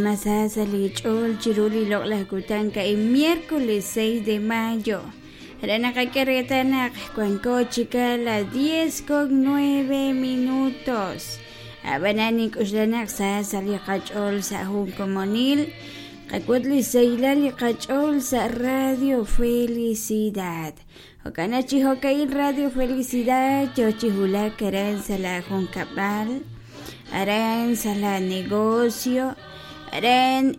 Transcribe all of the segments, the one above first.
Ma sa sa' li ch'ool chiru li loq'laj kutan a'in miércoles 6 de mayo. Re naqak'e reetal naq wanko chik a las 10 con 9 minutos. Ab'anan nink'oxla naq sa sa' li qach'ool sa' jun komonil qawot li sahilal li qach'ool sa' Radio Felicidad. Jo'kan naq chi jo'ka'in Radio Felicidad yo chi wulak aran sa' la junkab'al, aran sa' la negocio, aran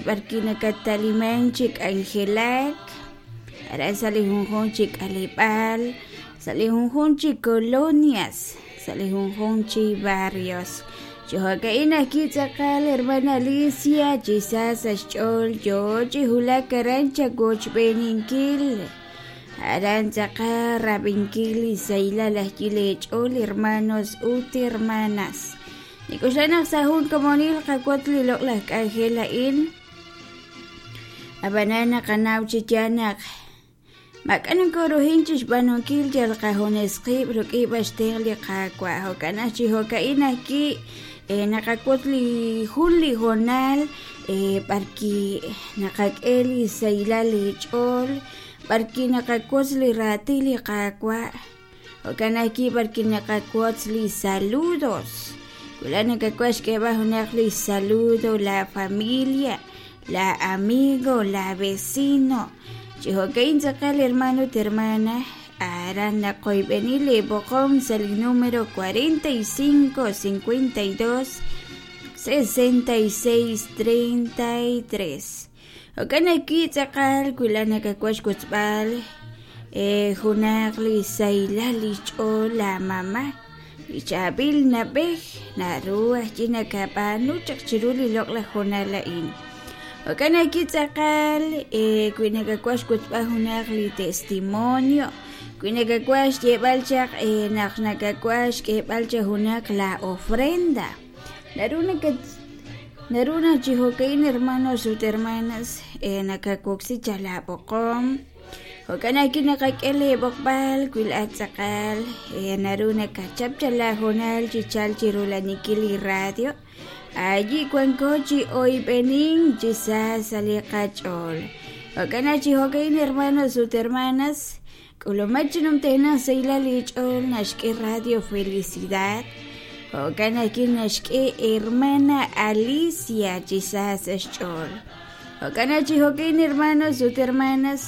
b'arwi' nakatta'liman chi k'anjelak, aran sa' li junjunq chi k'aleb'aal, sa' li junjunq chi colonias, sa' li junjunq chi barrios. Chi jo'ka'in ajwi' tz'aqal hermana Alicia chi sa sa' xch'ool yo chi wulak aran chawochb'eeninkil. Aran tz'aqal rab'inkil li sahilal ajwi' leech'ool hermanos ut hermanas. Nik'oxla naq sa' jun komonil qawotz li loq'laj k'anjel a'in. Ab'anan naqanaw chi yaal naq maak'a' nokoruhin chixb'aanunkil yal qajunes qib' rik'in b'an xtenq' li Qaawa'. Jo'kan naq chi jo'ka'in ajwi' naqawotz li jun li hoonal b'arwi' naqak'e li sahilal leech'ool b'arwi' naqawotz li raatin li Qaawa', jo'kan ajwi' b'arwi' naqawotz li saludos. Wulaj nakawaj xk'eeb'al junaq li saludo la familia, la amigo, la vecino. Chi jo'ka'in tz'aqal hermano ut hermana, aran naqoyb'eni lee b'oqom sa' li numero 45 52 66 33. Jo'kan ajwi' tz'aqal wi laa'at nakawaj xwotzb'al junaq li sahilal li xch'ool laamama', li chaab'il na'b'ej, naru ajwi' nakab'aanu chaq chiru li loq'laj hoonal a'in. Jo'kan ajwi' tz'aqal wi nakawaj xwotzb'al junaq li testimonio, wi nakawaj xyeeb'al chaq naq nakawaj xk'eeb'al chaq junaq la ofrenda, naru nakat Naru naq chi jo'ka'in hermanos ut hermanas nakawoksi chaq laab'oqom. Jo'kan ajwi' naqak'e leeb'oqb'al wi laa'at tz'aqal naru nakachap chaq laahoonal chi chalk chi rula'aninkil li radio. Ayi' wanko chi oyb'enink chi sa sa' li qach'ool. Jo'kan naq chi jo'ka'in hermanos ut hermanas K'ulumak chi numtajenaq sahilal li ch'ool naxk'e Radio Felicidad. Jo'kan ajwi' naxk'e hermana Alicia chi sa sa' xch'ool. Jo'kan naq chi jo'kin hermanos ut hermanas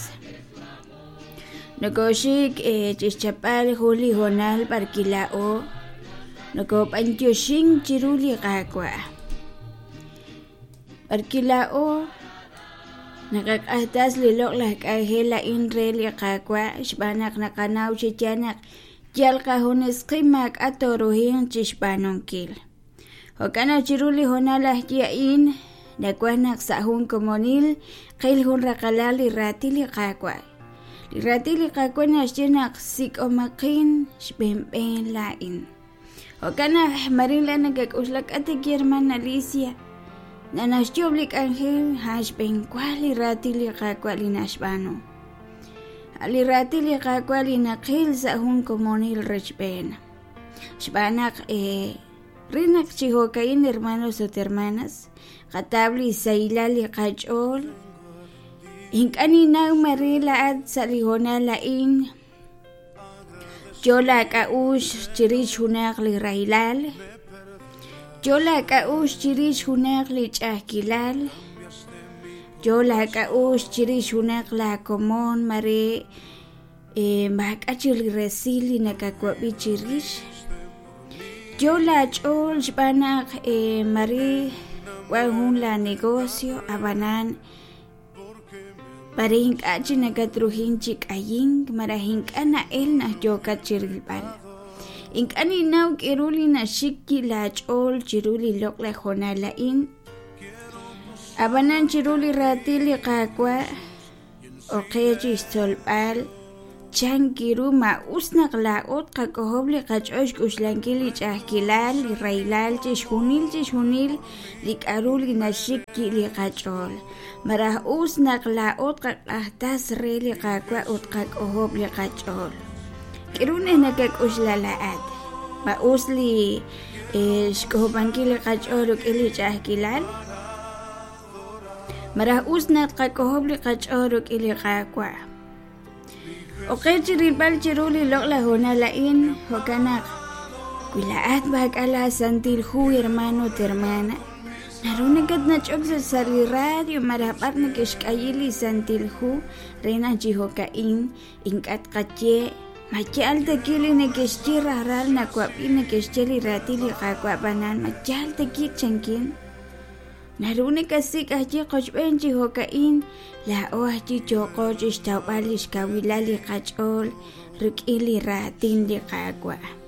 nokoxik chi xchapb'al jun li hoonal b'arwi' laa'o nokob'antioxink chiru li Qaawa'. B'arwi' laa'o naqaq'axtas li loq'laj k'anjel a'in re li Qaawa' xb'aan naq naqanaw chi yaal naq yal qajunes qib' maak'a' tooruhinq chi xb'aanunkil. Jo'kan naq chiru li hoonal ajwi' a'in nawaj naq sa' jun komonil qil jun raqalal li raatin li Qaawa'. Li raatin li Qaawa' naxye naq sik'omaqin xb'een laa'in. Jo'kan naq marin la nakak'oxla k'a' te hermana Alicia nanaxyoob' li k'anjel a'an xb'eenwa li raatin li Qaawa' li naxb'aanu. A' li raatin li Qaawa' li naqil sa' jun komonil rechb'een. Xb'aan naq re naq chi jo'ka'in hermanos ut hermanas qataw li sahilal li qach'ool ink'a' ninnaw mare laa'at sa' li hoonal a'in Yo laak'a'uxl chirix junaq li rahilal, yo laak'a'uxl chirix junaq li ch'a'ajkilal, yo laak'a'uxl chirix junaq laakomon mare maak'a' chik li resil li nakawab'i chirix, yo laach'ool xb'aan naq mare wan jun laanegocio ab'anan Mare ink'a' chi nakatruhin chi k'ayink malaj ink'a' na'el naq yookat chi rilb'al. Ink'a' ninnaw k'aru li naxik wi' laach'ool chiru li loq'laj hoonal a'in. Ab'anan chiru li raatin li Qaawa' ok qe chi xtzolb'al Chan ru ma us naq laa'o tqak'ojob' li qach'ool xk'oxlankil li ch'a'ajkilal, li rahilal, chixjunil chixjunil li k'aru li naxik wi' li qach'ool? Malaj us naq laa'o tqaq'ajtas re li Qaawa' ut tqak'ojob' li qach'ool? K'aru naq nakak'oxla laa'at? Ma us li xk'ojob'ankil li qach'ool rik'in li ch'a'ajkilal? Malaj us naq tqak'ojob' li qach'ool rik'in li Qaawa'. Ok qe chi rilb'al chiru li loq'laj hoonal a'in, jo'kan naq wi laa'at maak'a' laaSantil Hu, hermano ut hermana, naru nakatnach'ok sa' li radio malaj b'ar neke'xk'ayi li Santil Hu re naq chi jo'ka'in ink'a' tqaye ma yaal ta ki li neke'xye rajlal nawab'i neke'xye li raatin li Qaawa' ab'anan ma yaal ta ki chankin. Naru nakasik' ajwi' qochb'een chi jo'ka'in, laa'o ajwi' yooqo chi xtawb'al li xkawilal li qach'ool rik'in li raatin li Qaawa'.